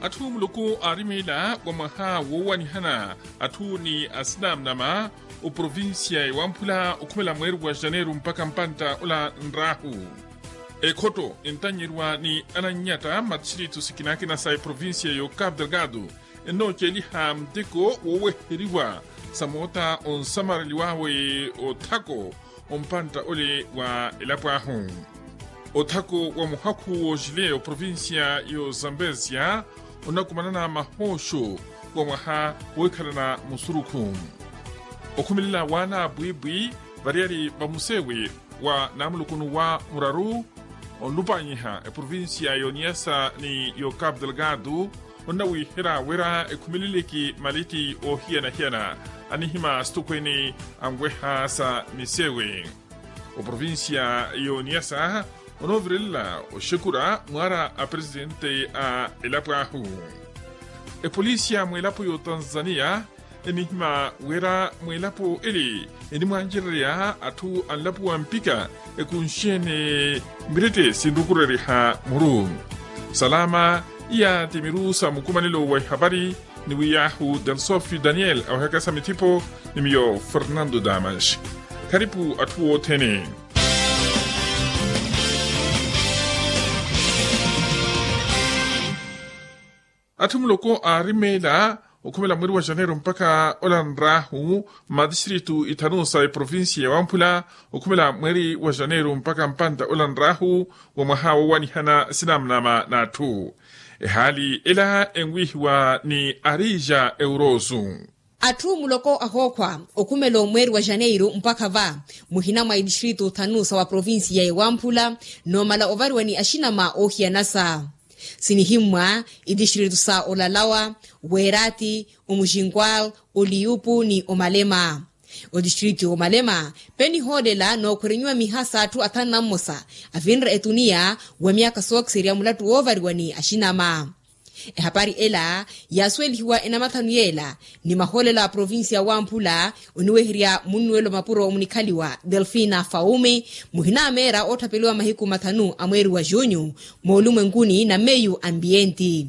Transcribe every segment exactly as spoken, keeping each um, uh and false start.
Atthu muluku aarimeela wa mwaha woowanihana atthu ni asinamnama, oprovincia ewamphula okhumela mweeri wa janeiro mpakha mpantta ola nraahu. Ekhotto entannyeriwa ni anannyata mmatistrittu sikinakina sa eprovincia y'okapu delgado, ennooceliha muteko wooweheriwa sa moota onsamareliwawe othako ompantta ole wa elapo ahu. Othako wa muhakhu w'oxile oprovincia y'ozambezia, onakumanana mahooxo wa mwaha wohikhalana musurukhu. Okhumelela waana apwiipwi variyari vamusewe wa namulukunu wa muraru, onlupanyiha eprovincia y'oniyasa ni y'okapu delgado, onnawiihera wira ekhumeleleke malitti oohiyana-hiyana, anihima asitukhweene anweha sa misewe. Oprovincia y'oniyasa onoovirelela oxekura mwaara a presidente a elapo ahu. Epolisi ya mweelapo y'otanzania enihima wira mweelapo ele enimwancererya atthu anlapuwa mpikha ekunxene mirette sinrukureriha muru. Salama, iya ti miru sa mukumanelo wa ihapari, ni wiyahu delsofi daniel awehakasa mithipo ni miyo fernando damas. Kharipu atthu othene. Atthu muloko aarimeela okhumela mweeri wa janeiro mpakha ola nraahu, mmatistrittu ithanu sa eprovincia ya wamphula okhumela mweeri wa janeiro mpakha mpantta ola nraahu wa mwaha woowanihana sinamnama n'atthu. Ehaali ela enwiihiwa ni arija eurosu. Atthu muloko ahookhwa okhumela omweeri wa janeiro mpakha va muhina mwa itistritu thanu sa wa provincia ya ewamphula, noomala ovariwa ni axinama oohiyanasa. Sinihimmwa itistritu sa olalawa, weerati, omuxinkwal, oliyupu ni omalema. Otistritu y'omalema penihoolela nookhwerenyiwa miha s'atthu athanu na mmosa avinre etuniya wa myaakha sookiserya mulattu woovariwa ni axinama. Ehapari ela yaasuwelihiwa enamathanu yeela ni mahoolela a provincia wamphula, oniweherya munnuwelo mapuro munikhaliwa delfina faumi, muhina a meera ootthapeliwa mahiku mathanu a mweeri wa junyu moolumwenkuni na meyu ambienti.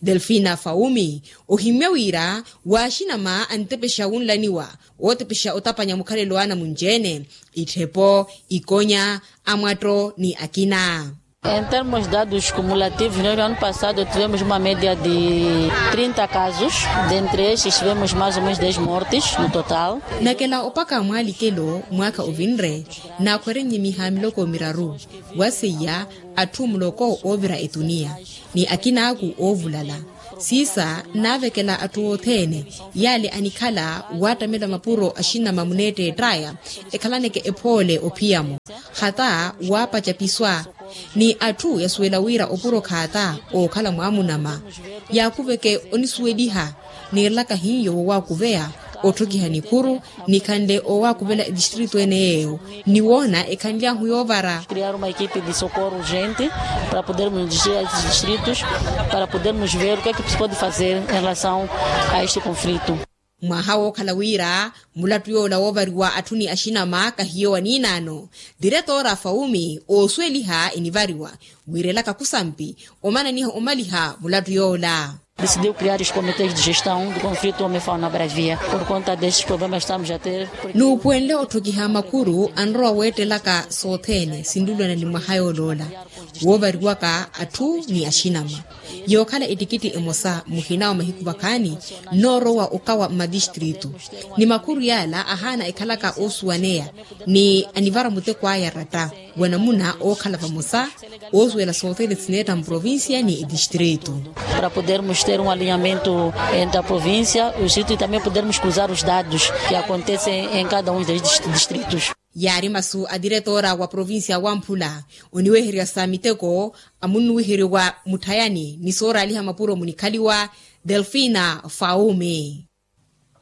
Delfina faumi ohimmya wira waaxinama antepexa wunlaniwa, ootepexa otapanya mukhalelo wa anamunci-ene, itthepo, ikonya, amwatto ni akina. Em termos de dados cumulativos, nós no ano passado tivemos uma média de trinta casos, dentre estes tivemos mais ou menos dez mortes no total. Nakela opaka mwaalikelo mwaakha ovinre naakhwerennye miha miloko miraru, waseiya atthu muloko oovira etuniya ni akinaaku oovulala. Siisa nnaavekela atthu othene yaale anikhala waattamela mapuro axinama muneetteett'aya ekhalaneke ephoole ophiyamo, hata waapaca piswa. Ni atthu yasuwela wira opuro khaata ookhala mwaamunama yaakuveke onisuweliha. Niirelaka hiyo wowaakuveya otthokiha nikhuru nikhanle owaakuvela etistritu ene yeeyo niwoona ekhanly'ahu yoovara. Criar uma equipe de socorro urgente para podermos dirigir a esses distritos, para podermos ver o que é que se pode fazer em relação a este conflito. Mwaha wookhala wira mulattu yoola woovariwa atthu ni axinama kahiyo wa niinaano, diretora faumi oosuweliha enivariwa wiirelaka khusampi omananiha omaliha mulattu yoola. Decidiu criar os comitês de gestão do conflito homem fauna bravia por conta destes problemas estamos a ter. Nuupuwenle otthokiha makhuru anrowa weettelaka sothene sinlulwana ni mwaha yooloola woovariwaka atthu ni axinama. Yookhala ettikitti emosa muhina wa mahiku vakhaani nnoorowa okawa mmatistritu ni makhuru yaala ahaana ekhalaka oosuwaneya ni anivara muteko aya ratta. Wanamuna ookhala vamosa oosuwela sothene sineetta mprovincia ni etistritu. Para podermos ter um alinhamento entre a província e o distrito e também podermos cruzar os dados que acontecem em cada um dos distritos. Yaari masu a diretora wa provincia wamphula oniweherya sa miteko amunnuwiheryo wa mutthayani ni sooraaliha mapuro munikhaliwa delfina faumi.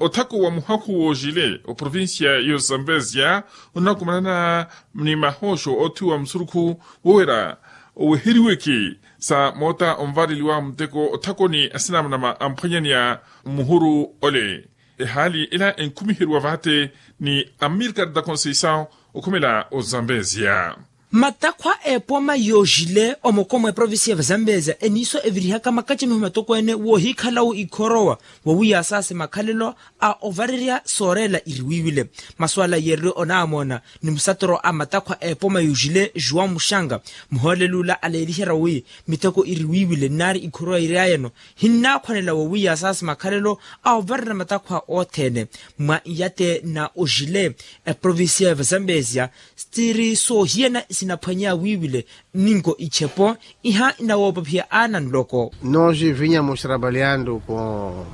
Othako wa muhakhu wooxile oprovincia y'ozambezia onakumanana ni mahooxo oothiwa musurukhu wowera oweheriweke sa moota onvareliwa muteko othakoni asinamnama amphwanyaneya mmuhuru ole. Ehaali ela enkhumiheriwa vaate ni amirikari da conceição okhumela ozambezia. Matakhwa a epoma yoojile omoko mwa eprovincia ya vazambezia eniiso evirihaka makacamiho matokweene woohikhala-wo ikhorowa, wowiiya asaasi makhalelo a ovarerya sooreela iriwiiwile. Masuala yeereliwe onaamoona ni musatoro a matakhwa a epoma yoojile juwa muxanga, muhooleli ula aleeliherya wi miteko iriwiiwile nnaari ikhorowa iryayeno hinnaakhwanela wowiiya asaasi makhalelo a ovarerya matakhwa othene. Mwa iyate na ojile, eprovincia ya vazambezia sitiri soohiyana sinaphwanya wiiwile, ninko ichepo iha inawoopaphiya aana nloko. Nos vinhamos trabalhando com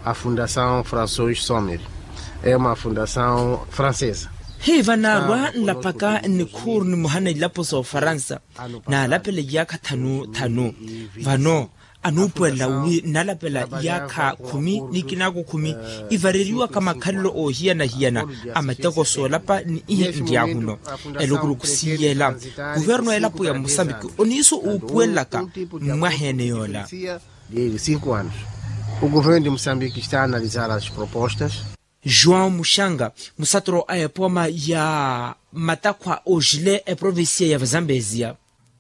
a fundação françois sommer, é uma fundação francesa. Hiiva naarwa nlapaka nnikhuuru nimoha na ilapo soofaransa, naalapela iyaakha thanu thanu. Vano anuupuwelela wi nnalapela iyaakha khumi ni kinaako khumi ivareriwaka makhalelo oohiyana-hiyana a mateko soolapa ni ihi nryahuno. Elukuruku siiyela, kuvernu a elapo ya musambiki oniiso uupuwelelaka mmwaheene yoola. Cinco anos o governo de moçambique está a analisar as propostas. João muxanga, musatoro a epoma ya matakhwa oojile eprovincia ya vazambezia.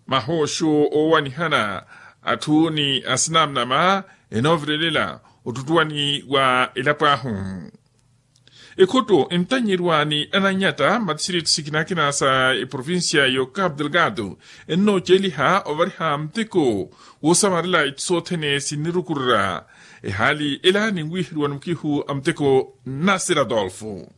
Mahooxo oowanihana atthu ni asinamnama enoovirelela ottuttuwani wa elapo ahu. Ekhuttu entanyerwa ni ananyatta mmatisiritthi sikinakina sa eprovincia yo capu delgado ennooceeliha ovariha muteko woosamarela itthu sothene sinnirukurura. Ehaali ela ninwiiheriwa ni mukihu a muteko nnasira adolfo.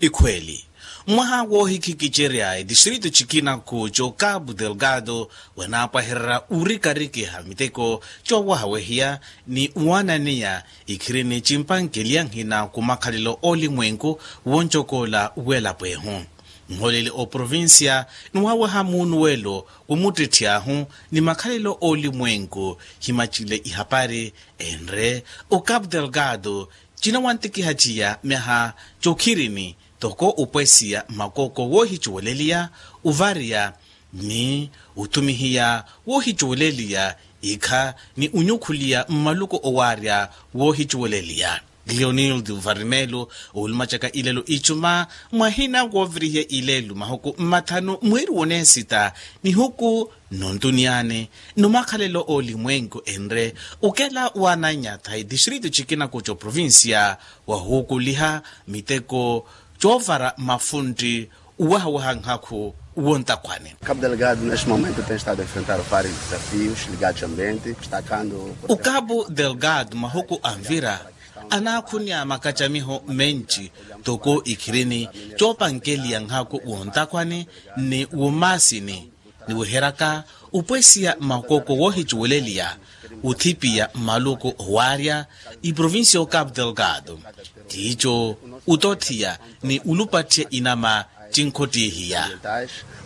Ikhweeli, mwaha woohikhikicerya etistritu cikinaku co capu delgado wanaapwahererya urikarikiha miteko coowahawehiya ni waananeya ikhirini cimpankeliya nhina ku makhalelo oolimwenku woncokoola w'elapo ehu. Nholeli oprovincia niwaaweha muunuwelo womuttetthi ahu ni makhalelo oolimwenku himacile ihapari enre o capu delgado cinawantikiha ciya myaha cokhirini toko upwesiya makoko woohicuweleliya, uvariya ni uthumihiya woohicuweleliya ikha ni unyukhuliya mmaluku owaarya woohicuweleliya. Leonildo varimelo oulumacaka ilelo icuma mwahina woovirihiya ilelo mahuku mmathanu mwiiri woneesita nihuku nontuniyani nomakhalelo oolimwenku enre ukela waananyatha etistritu cikinaku coprovincia wahuukuliha miteko coovara mafuntti uwahawaha nhakhu wontakhwani. Capu delgado neste momento tem estado a enfrentar vários desafios ligados ao ambiente destacando o capu delgado mahuku anvira anaakhunya makacamiho menci toko ikhirini coopankeliya nhakhu wontakhwani ni womaasini niweheryaka upwesiya makoko woohicuweleliya uthipiya mmaluku owaarya iprovincia o capu delgado tiico utotthiya ni ulupattiya inama cinkhottihiya.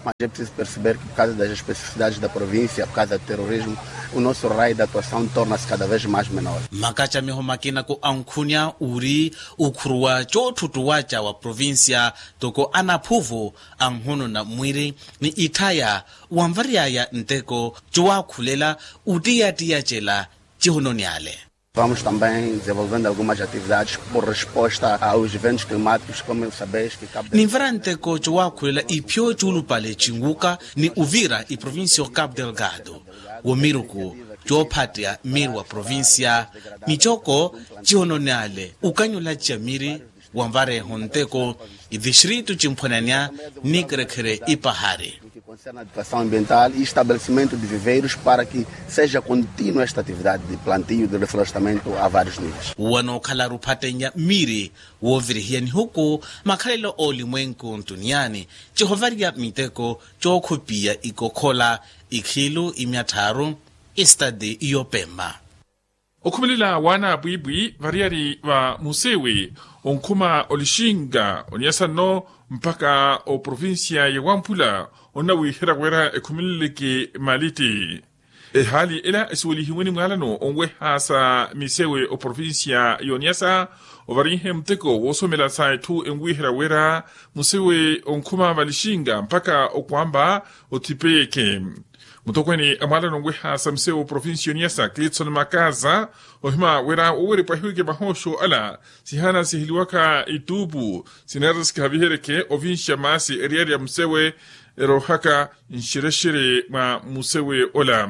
Mas é preciso perceber que por causa das especificidades da província por causa do terrorismo o nosso raio de atuação torna-se cada vez mais menor. Makacamiho makinaku ankhunya uri ukhuruwa coottuttuwaca wa provincia toko anaphuvu anhununa mwiri ni itthaya wanvaryaya nteko cowaakhulela uttiyattiyacela cihononi ale. Vamos também desenvolvendo algumas atividades por resposta aos eventos climáticos como sabeis que capu ninvara nteko cowaakhulela iphyo cuulupale cinwuka ni uvira iprovincia o capu delgado womiruku coophatteya miiri wa provincia micoko cihononi ale ukanyulaciya miiri wanvareeho nteko itistritu cimphwananya nnikherekhere ipahari. Educação ambiental e estabelecimento de viveiros para que seja contínua esta atividade de plantio de reflorestamento a vários níveis. Wanookhala rupattenya miiri woovirihiya nihuku makhalelo oolimwenku ntuniyaani cihovariya miteko cookhupiya ikokhola ikhilu imyattharu estati yopemma. Okhumelela waana apwiipwi variyari va musewe onkhuma olixinga onyasa nno mpakha oprovincia ya wamphula onnawiherya wira ekhumeleleke malitti. Ehaali ela esiwelihiwe ni mwaalano onweha sa misewe oprovincia y'onyasa ovarinhe muteko woosomela sa etthu enwiherya wira musewe onkhuma valixinga mpakha okwamba othipeyeke. Mutokweene a mwaalano onweha sa misewu provinciyo niyasa clitson makaza ohima wira wowerya epwahiweke mahoosho ala sihaana siheliwaka ituupu sineera sikihaviheryeke ovinxa maasi eriyari ya musewe eroohaka nxerexere mwa musewe ola.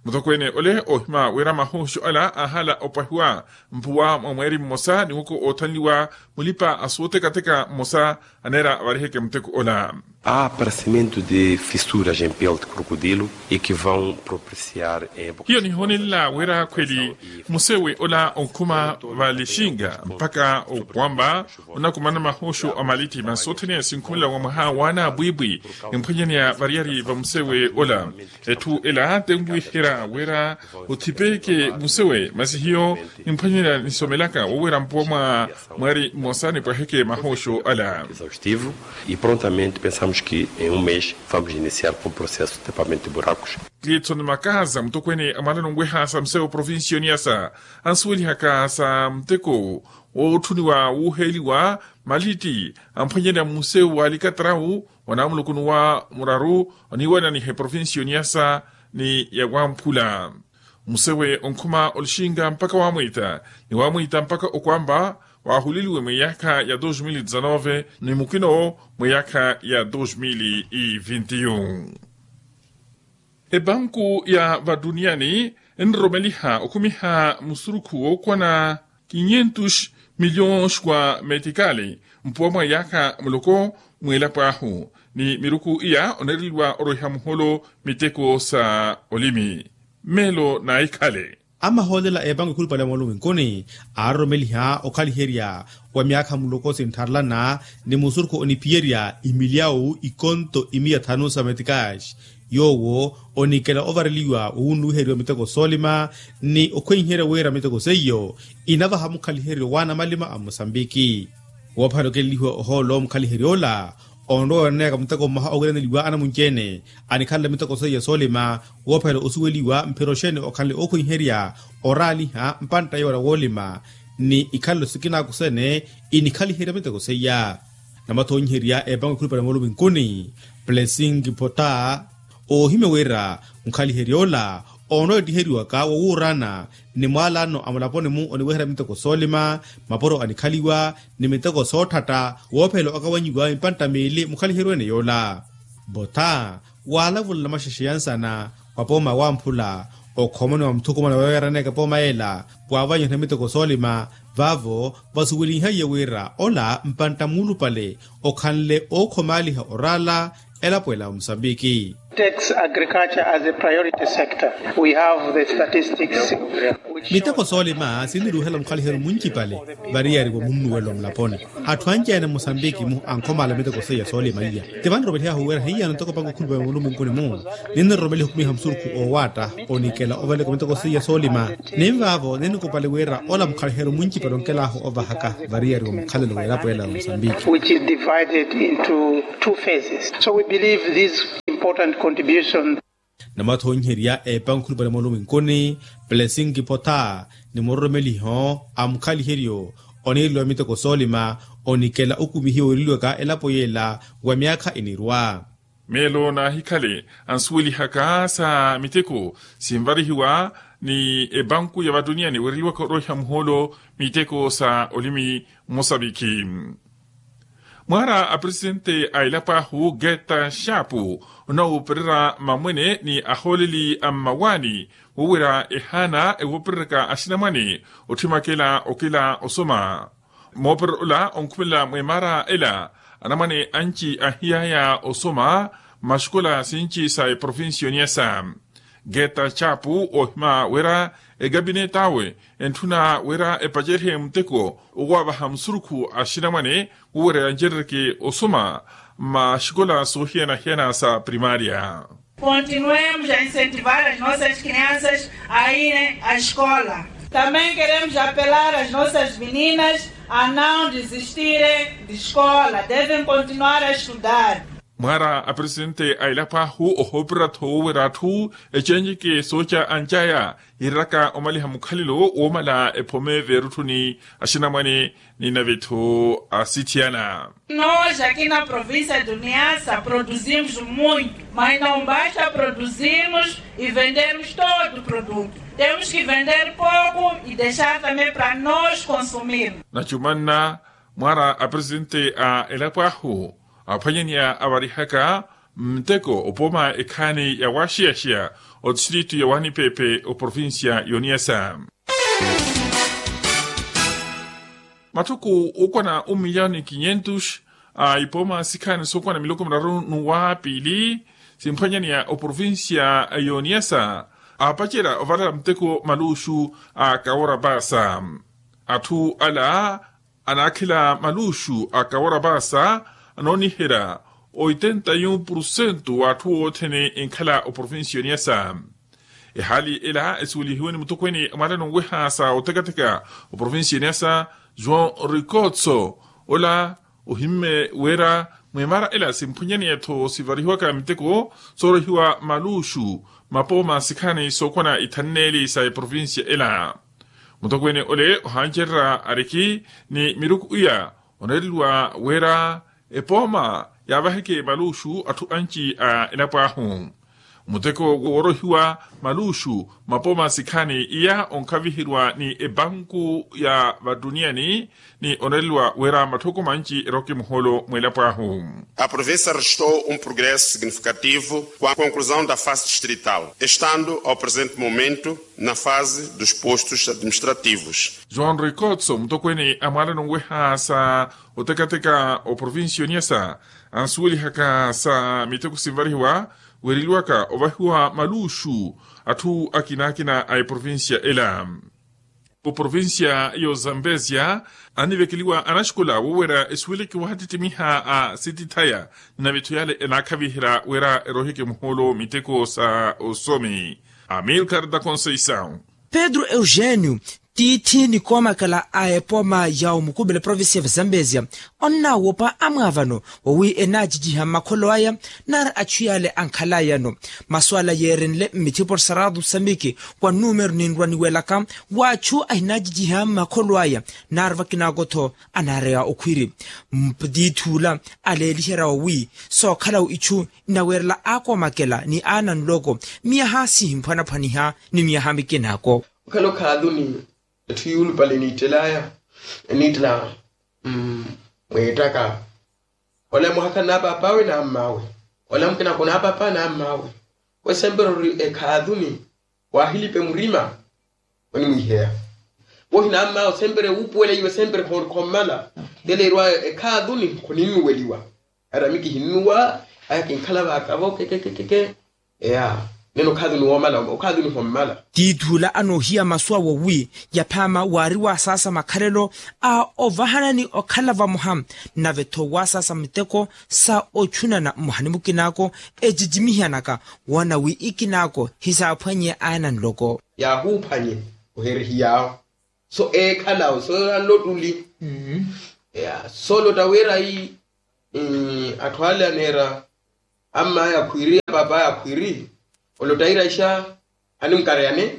Mutokweene ole ohima wira mahoosho ala aahala opwahiwa mpuwa mwa mweeri mmosa ni woko oothanliwa mulipa a sootekateka mmosa aneera avariheke muteko ola. Há aparecimento de fissuras em pele de crocodilo e que vão propiciar em hiyo nihonelela wira khweli musewe ola onkhuma valixinga mpakha okwamba onakumana mahoosho a malitti masi sothene sinkhumelela wa mwaha waana apwiipwi. Emphwanyaneya variyari va musewe ola etthu ela tenwiherya wira othipeke musewe masi hiyo nimphwanyaneya nisomelaka wowerya mpuwa mwa mweeri mmosa nipwaheke mahoosho ala. Exaustivo e prontamente pensamos que em um mês vamos iniciar com o processo de tapamento de buracos. Clitson makaza mutokweene a mwaalano onweha sa misewu provinciyo niyasa ansuwelihaka sa muteko wootthuniwa wuuheeliwa malitti amphwanyaneya musewu wa alikatarawu wa naamulukunu wa muraru oniiwananiha eprovinciyo niyasa ni ya wamphula. Musewe onkhuma olixinga mpakha wamwiita ni wamwiita mpakha okwamba waahuleliwe mweyaakha ya dos mil e dezanove ni mukina owo mweyaakha ya dos mil e vinti yu. Epanku ya vatuniyani enroromeliha okhumiha musurukhu wookwana kinyentus miliyons wa metikali mpuwa mwa yaakha muloko mweelapo ahu ni miruku iya oneereliwa orweha muholo miteko sa olimi. Meelo naahikhale. Amahoolela a epanku ekhulupale ya moolumwinkuni aaroromeliha okhaliherya wa myaakha muloko sintharelana ni musurukhu oniphiyerya imiliyawu ikonto imiya thanu sa metikaxi yoowo onikela ovareliwa wowunnuwiheriwa miteko soolima ni okhwenherya wira miteko seiyo inavaha mukhaliheryo wa anamalima a musambiki. Woophale okelelihiwa ohoolo mukhaliheryo ola onrowa oneeka muteko mmoha owiraneliwa anamunci-ene anikhalela miteko seiya soolima woophela osuweliwa mphira oxeene okhanle ookhwenherya oraaliha mpantta yoola woolima ni ikhalelo sikina akusene inikhaliherya miteko seiya. Namathonyiherya epango ekhulupale moolumwinkuni plesingi pota oohimya wira mukhaliherya ola onoottiheriwaka wowuurana ni mwaalano a mulaponi-mu oniweherya miteko soolima mapuro anikhaliwa ni miteko soothatta woophela okawanyiwa mpantta miili mukhaliheryo-ene yoola. Pota waalavula namaxexe ya nsana wa pooma wamphula okhomoniwa muthukumana weeraneeke pooma yeela waavanyiha miteko soolima vaavo vasuwelinhaiye wira ola mpantta muulupale okhanle ookhomaaliha oraala elapo ela wa musambiki. Takes agriculture as a priority sector. We have the statistics. Miteko soolima sinniruuhela mukhaliheryo muncipale variyari wa munnuwelo mulaponi. Atthu anci-ene musambiki-mu ankhomaala miteko seiya soolima iya. Ti vaniromelihahu wira hiyano ntoko pango khulupale mulumwinkuni-mu niniroromeliha okhumiha musurukhu oowaatta onikela ovaleka miteko seiya soolima. Ninvaavo ninikupali wira ola mukhaliheryo muncipale onkelahu ovahaka variyari wa mukhalelo w'elapo ela wa musambiki. Which is divided into two phases. So we believe this important contribution. Namathonyiherya epango ekhulupale moolumwinkuni plesingi pota ni muroromeliho a mukhaliheryo oniireliwa miteko soolima onikela okumihiwa wiireliwaka elapo yeela wa myaakha inirwa. Meelo naahikhale ansuwelihaka sa miteko sinvarihiwa ni epanku ya vatuniyani weereliwaka orweha muhoolo miteko sa olimi mosaviki. Mwaara a presidente a elapo ahu geta xaapu onoopererya mamwene ni ahooleli a mmawaani woowira ehaana ewoopereryaka axinamwane otthimakela okela osoma. Moopererya ola onkhumelela mweemaara ela anamwane anci ahiyaya osoma mmaxikola sinci sa eprovinciyo niyasa. Geta chapu ohima wira ekapineti awe entthuna wira epacerye muteko owaavaha musurukhu axinamwane wira yancerereke osoma mmaxikola soohiyana-hiyana sa primaria. Continuemos a incentivar as nossas crianças a irem à escola. Também queremos apelar às nossas meninas a não desistirem de escola, devem continuar a estudar. Mwaara a presidente a elapo ahu ohoopera-tho woowerya atthu ecenjeke sooca ancaya, yiiraka omaliha mukhalelo woomala ephome veerutthuni axinamwane ni navetho asithiyana. Nós aqui na província do Niassa produzimos muito, mas não basta produzirmos e vendermos todo o produto. Temos que vender pouco e deixar também para nós consumirmos. Nacumanna mwaara a presidente a elapo ahu aphwanyaneya avarihaka mteko opooma ekhaani ya waaxiyaxiya otistritu ya waanipepe oprovincia y'oniyasa. Mathuku ookwana un miliyoni quinhentos a ipooma sikhaani sookwana miloko miraru n'uwa piili simphwanyaneya oprovincia y'oniyasa aapacerya ovala mteko maluxu a kawora paasa. Atthu ala anaakhela maluxu a kawora paasa anooniherya oitenta e um por cento wa atthu othene enkhala oprovincia y'oniyasa. Ehaali ela esuwelihiwe ni mutokweene a mwaalano nweha sa otekateka oprovincia y'oniyasa, joão ricotso, ola ohimme wira mwemara ela simphwanyaneya-tho sivarihiwaka miteko soorohiwa maluxu mapooma sikhaani sookwana ithanneeli sa eprovincia ela. Mutokweene ole ohancererya ariki ni miruku iya oneereliwa wira epooma yaavaheke maluxu atthu anci a elapo ahu. Muteko woorohiwa maluxu mapooma sikhaani iya onkhaviheriwa ni ebanku ya vatuniyani ni oneereliwa wira matthoko manci eroke muhoolo mw'elapo ahu. A província registrou um progresso significativo com a conclusão da fase distrital, estando ao presente momento na fase dos postos administrativos. João ricotso mutokweene a mwaalano nweha sa otekateka oprovincia y'oniyasa ansuwelihaka sa miteko sinvarihiwa weereliwaka ovahiwa maluxu atthu akinaakina a eprovincia ela. Oprovincia y'ozambezia anivekeliwa anaxikola woowerya esuweleke wahattittimiha a sitithaya ni navetho yale enaakhaviherya wira eroheke muhoolo miteko sa osomi. Amilcar da conceição. Pedro eugênio, tiithi ni koomakela a epooma ya omukupela provincia ya vazambezia, onnaawopa amwaavano wawi enaacijiha mmakholo aya nari achu yale ankhalayano. Masu ala yeerenle mmithipo saratu samiki kwa numero ninrwa niwelaka wa achu ahinaacijiha mmakholo aya nari vakinaako-tho anaareya okhwiri. Mptiithula aleeliherya wawi sookhalawo ichu inaweerela aakoomakela ni aana nloko miyaha sihimphwanaphwaniha ni miyaha mikinaako. Okhala okhaatuni etthu yuulupale eniittelaya eniittela mweettaka. Ola muhakhala n'apaap'awe n'amm'awe. Ola mukina khunaapaap'awe n'amm'awe. Wesempera ori ekhaathuni waahilipe murima onimwiiheya. Wohi n'amm'awe sempera wuupuwela iwe sempera khommala. Tele erwa ekhaathuni khuninnuweliwa. Arami kihinnuwa aya kinkhala vaakavo kekekekeke. Eya nene okhathuni woomala okhathuni hommala. Tiithula anoohiya masu awo wi yaphaama waari waasaasa makhalelo a ovahanani okhala vamoha nave-tho waasaasa miteko sa ochunana mmoha ni mukinaako ecicimihiyanaka woona wi ikinaako hisaaphwanye aana nloko. Yaahuuphanye oherihiyaawo so eekhalawo so anlottuli. Eya so lotta wira ii atthu ale aneera amm'aya akhwiiri apaap'aya akhwiiri olotta ira ixa animkareyane.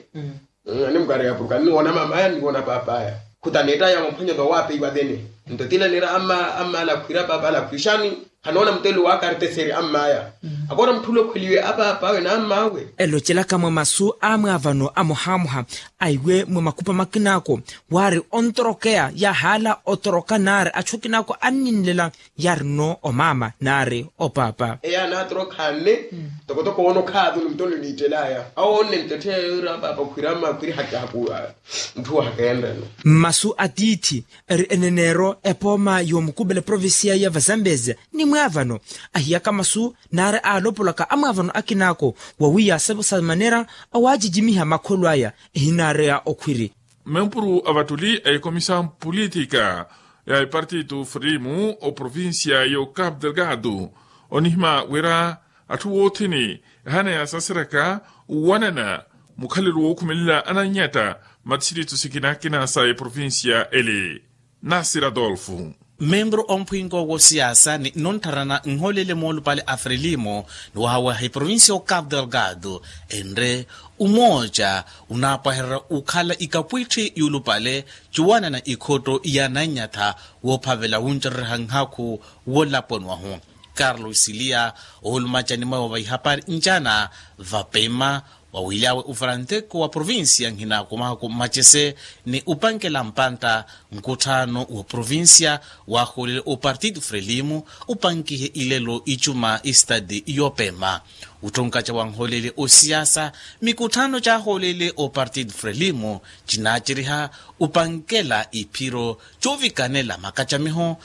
Animkareya porke anniwoona mam'aya anniwoona paap'aya. Khutaneettaya wamphwanya tho waapeiwa thene nto tila neera amm'ale akhwiiri apaap'ale akhwiixani khanoona mutelo waakarteseri amm'aya. Akoora mutthu ula okhweliwe apaap'awe n'amm'awe. Elocelaka mwa masu a mwaavano amohamoha aiwe mwa makupa makinaako waari ontorokeya yaahaala otoroka naari achu akinaako anninlela yaari-no omaama naari opaapa. Eya anaatorokhanne tokotoko woona okhaathu ni muttonle oniittel'aya awoonne muttetthe ira paapa okhwira mmakhwiri hakihakuwa. Ntthu hakeenreno mmasu a tiithi eri eneneero epooma yoomukupela provincia ya vazambezia ni mwaavano ahiyaka masu naari aalopolaka amwaavano akinaako wawi yaasepo sa manera awaacicimiha makholo aya ehinaareya okhwiri. Mempuru a vattuli a ekomisa mpulitika ya epartito fremu oprovincia y'ocapo delgado onihima wira atthu woothene ehaana yaasaseraka owanana mukhalelo wookhumelela ananyatta mmatisirito sikinakina sa eprovincia ele. Nasir adolfo. Membru omphwinko wosiyaasa ni nnontharana nholele moolupale a frelimo, ni wahawaha eprovincia o cabo delgado, enre umooca unaapwahererya okhala ikapwitthi yuulupale, cuwanana ikhotto ya nannyatha woophavela wuncereryaha nhakhu wolaponi wahu. Carlos silia, oolumacani mwawe wa ihapari ncana vapema, wawilyawe ufaranteko wa provincia nhina kumahaku mmacese, ni upankela mpantta nkutthaano wa provincia, waahoolele opartido frelimo upankihe ilelo icuma istadi yoopema. Utthunkaca wanhoolele osiyaasa, mikutthaano caahoolele opartido frelimo cinaaceriha upankela iphiro coovikanela makacamiho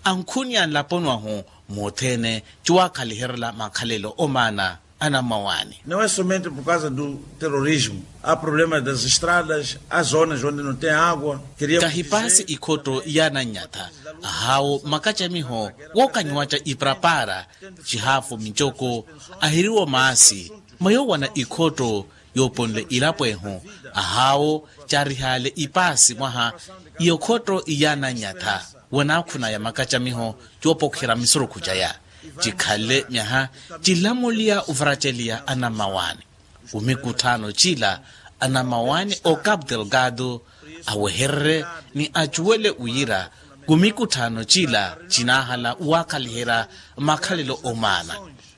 ankhuni a nlaponi wahu, mothene cuwaakhaliherela makhalelo omaana. Anammawaani. Não é somente por causa do terrorismo, há problemas das estradas, há zonas onde não tem água. Kahipaasi ikhotto ya nannyatha, ahaawo makacamiho wookanyiwaca iparapara, cihaafu micoko, ahiriwo maasi, mwa yoowana ikhotto yooponle ilapo ehu, ahaawo caarihale ipaasi mwaha. Iyo khotto ya nannyatha wanaakhunaya makacamiho coopokherya misurukhu caya, cikhanle myaha cilamuliya uvaraceliya anammawaani. Kumikutthaano cila anammawaani o cabo delgado awehererye ni acuwele wira kumikutthaano cila cinaahala waakhaliherya makhalelo omaana,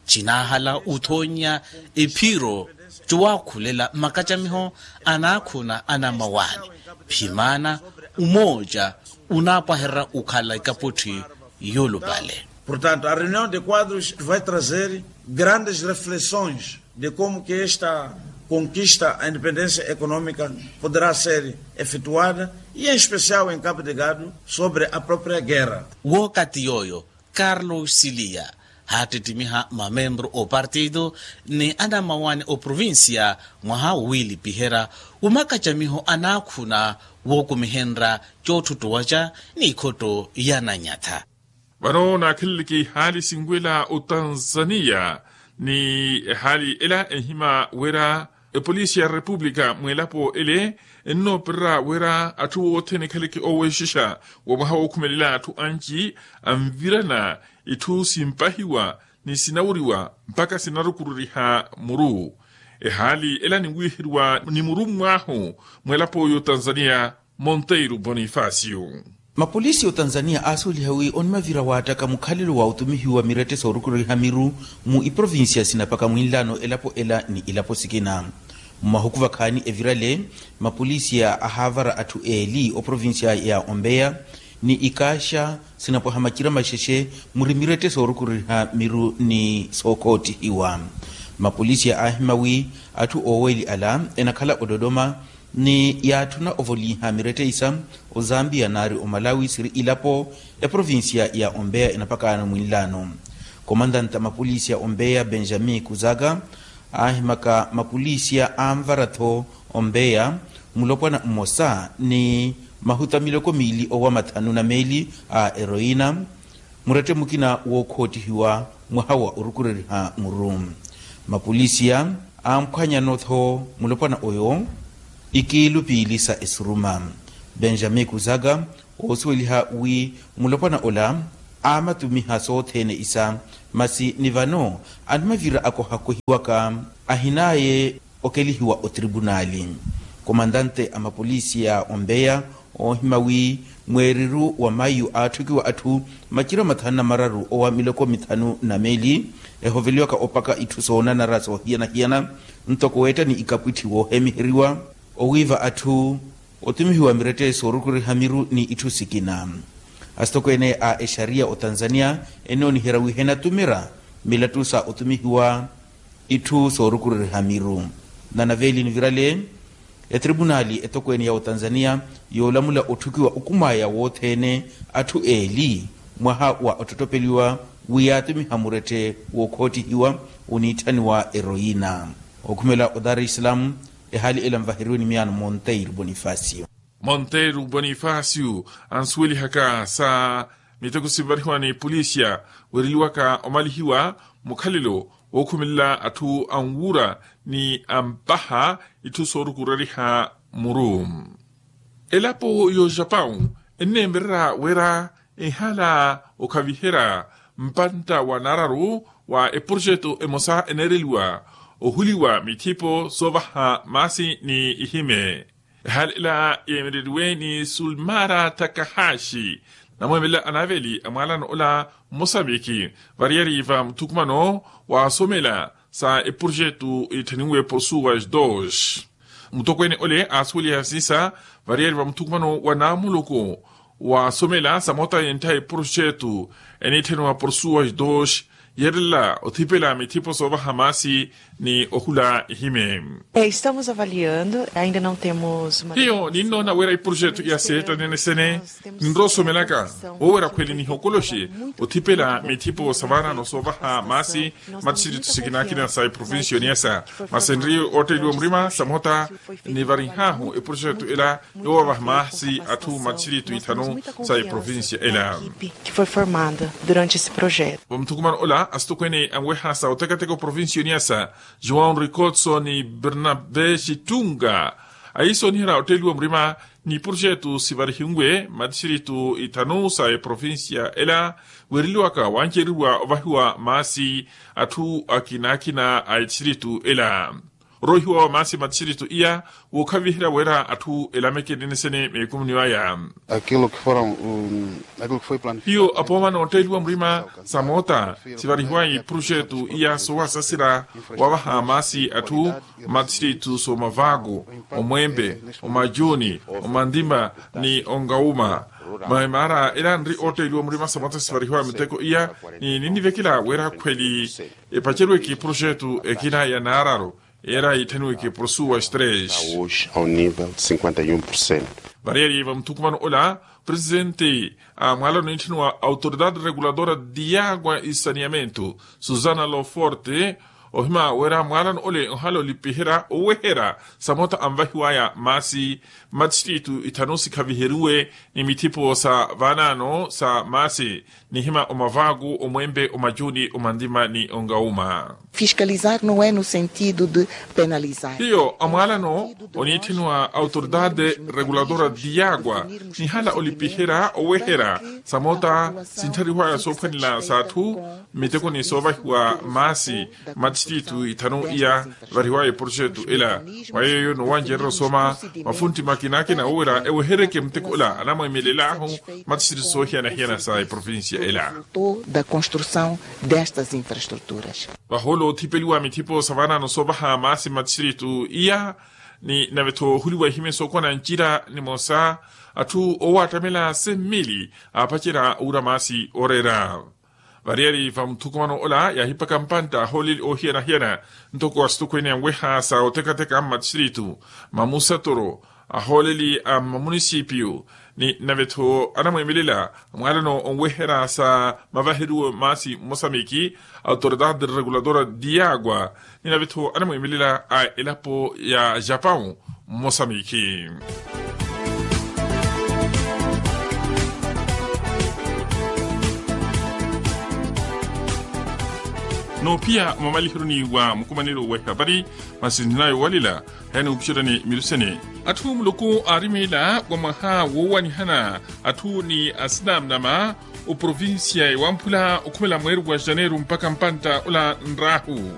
cinaahala uthoonya ephiro cuwaakhulela makacamiho anaakhuna anammawaani. Phimaana umooca unaapwahererya okhala ikaputthi yoolupale. Portanto, a reunião de quadros vai trazer grandes reflexões de como que esta conquista a independência econômica poderá ser efetuada, e em especial em Cabo Delgado, sobre a própria guerra. Wookati yooyo, carlos silia haattittimiha mamembru opartido ni anammawaani oprovincia mwaha wowiilipiherya umakacamiho anaakhuna wookumihenrya cootthutuwaca n'ikhotto ya nannyatha. Vano naakheleleke ihaali sinwela otanzaniya ni ehaali ela enhima wira epolisi ya repupulika mw'elapo ele ennoopererya wira atthu othene ekhaleke ooweexixa wa mwaha wookhumelela atthu anci anvirana itthu simpahiwa ni sinawuriwa mpakha sinarukururiha muru. Ehaali ela ninwiiheriwa ni murummw'ahu mw'elapo y'otanzaniya monteiro bonifacio. Mapolisi y'otanzaniya aasuweliha wi onimavira waattaka mukhalelo wa otumihiwa mirette soorukururiha miru mu iprovincia sinapaka mwinlaano elapo ela ni ilapo sikina. Mmahuku vakhaani evirale, mapolisi ahaavara atthu eeli oprovincia ya ombeya ni ikaaxa sinapwaha macira maxexe muri mirette soorukururiha miru ni sookoottihiwa. Mapolisi aahima wi atthu ooweeli ala enakhala ododoma ni yaatthuna ovoliha mirette isa ozambia naari omalawi siri ilapo eprovincia ya ombeya enapakaano mwinlaano. Komandanta mapolisi ya ombeya benjamin kuzaka aahimaka mapolisiya anvara-tho ombeya mulopwana mmosa ni mahuta miloko miili owa mathanu na meeli a eroina murette mukina wookhoottihiwa mwaha wa orukureriha muru. Mapolisiya amphwanyano-tho mulopwana oyo ikiilu piili sa esuruma. Benjamin kuzaka oosuweliha wi mulopwana ola aamatumiha sothene isa masi ni vano animavira akohakohiwaka ahinaye okelihiwa otripunali. Komandante a mapolisi ya ombeya oohima wi mweeriru wa mayu aatthukiwa atthu macira mathanu na mararu owa miloko mithanu na meeli ehoveliwaka opaka itthu soonanara soohiyana-hiyana ntoko weetta ni ikapwitthi woohemiheriwa owiiva atthu otumihiwa mirette soorukuriha miru ni itthu sikina. Asitokweene a exariya otanzaniya enooniherya wi henatumira milattu sa otumihiwa itthu soorukuriha miru. Nanaveeli nivirale etripunali etokweene ya otanzaniya yoolamula otthukiwa okumwaya wothene atthu eeli mwaha wa ottottopeliwa wi yaatumiha murette wookhoottihiwa oniitthaniwa eroina. Okhumela o dar es salaam ehaali ela nvaheriwe ni miyaano monteiro bonifacio. Monteiro bonifacio ansuwelihaka sa miteko sinvarihiwa ni polisia weereliwaka omalihiwa mukhalelo wookhumelela atthu anwuura ni ampaha itthu soorukureriha muru. Elapo y'ojapau enneemererya wira Ehala okhaviherya mpantta wa naararu wa eprojetu emosa eneereliwa ohuliwa mithipo soovaha maasi ni ihime. Ehala ela yeemereriwe ni sulmara takahashi, namweemela anaaveli a mwaalano ola mmosamiki variyari va muthukumano wa somela sa eprojetu itthaniwe porsuas dos. Mutokweene ole aasuweliha siisa variyari va muthukumano wa naamuluku wa somela sa moota yenttha eprojetu eniitthaniwa porsuas dos, yeerela othipela mithipo soovaha maasi ni ohula ihime. Estamos avaliando, ainda não temos uma hiyo ninnoona wira eprojetu ya seeta nenesene ninrowa osomelaka woowerya khweli nihokoloxe othipela mithipo sa vaanaano soovaha maasi matthiritu sikinakina sa eprovincia oniyasa. Masi enriye ootteeliwa murima sa moota nivarinhahu eprojetu ela yoovaha maasi atthu matthiritu ithanu sa eprovincia ela. Vamuthukumano ola asitokweene anweha sa otekateka oprovincia oniyasa joão ricotso ni bernabe xittunga ayiisoniherya otteeliwa murima ni projetu sivarihiwe matthiritu ithanu sa eprovincia ela. Weereliwaka wancereriwa ovahiwa maasi atthu akinakina a etthiritu ela. Oroihiwa wa maasi matthiritu iya wookhaviherya wira atthu elameke nenesene meekumuni waya. Hiyo apooma nootteeliwa murima sa moota sivarihiwayi projetu iya soowasaserya wavaha maasi atthu matthiritu soomavaku, omwempe, omajuni, omandima ni ongauma. Maimara ela nri ootteeliwa murima sa moota sivarihiwayi miteko iya ni ninnivekela wira khweli epacerweke projetu ekina ya naararu era yitthaniweke porsuas tres. Variari vamuthukumano ola presidente a mwaalano nitthaniwa autoridade reguladora diagua e saneamento, susana loforte, ohima wira mwaalano ole ohala olipiherya oweherya sa moota anvahiwaya maasi matthiritu ithanu sikhaviheriwe ni mithipo sa vaanaano sa maasi nihima omavaku omwempe omajuni omandima ni ongauma. Fiscalizar no é no sentido de penalizar. Hiyo amwaalano oniitthaniwa autoridade reguladora diagua nihala olipiherya oweherya sa moota sintthariwaya soophwanela sa atthu mmitekoni soovahiwa maasi matthiritu ithanu iya variwaya eprojetu ela. Mwa yeeyo noowancererya osooma mafuntti makinakina wowira ewehereke muteko ola anamwemelel'ahu matthiritu soohiyana-hiyana sa eprovincia ela. Da construção destas infraestruturas. Vahoolo othipeliwa mithipo sa vaanaano soovaha maasi matthiritu iya ni nave-tho ohuliwa ehimye sookona ncira nimosa atthu oowattamela semmili aapacerya owira maasi ooreera. Variyari va muthukumano ola yaahipaka mpantta ahooleli oohiyana-hiyana ntoko asitokweene anweha sa otekateka mmatthiritu, mamusatoro, ahooleli a mmamunisipiyu ni nave-tho anamweemelela mwaalano onweherya sa mavaheriwe maasi mmosamiki, autoridade reguladora diagua ni nave-tho anamweemelela a elapo ya japawu mmosamiki. Noophiya mwamaliheroni wa mukumanelo wa ehapari masi nthinayo walela. Heni upuxerani milusene atthu muluku aarimeela wa mwaha woowanihana atthu ni asinamnama oprovincia ewamphula okhumela mweeri wa janeiro mpakha mpantta ola nraahu.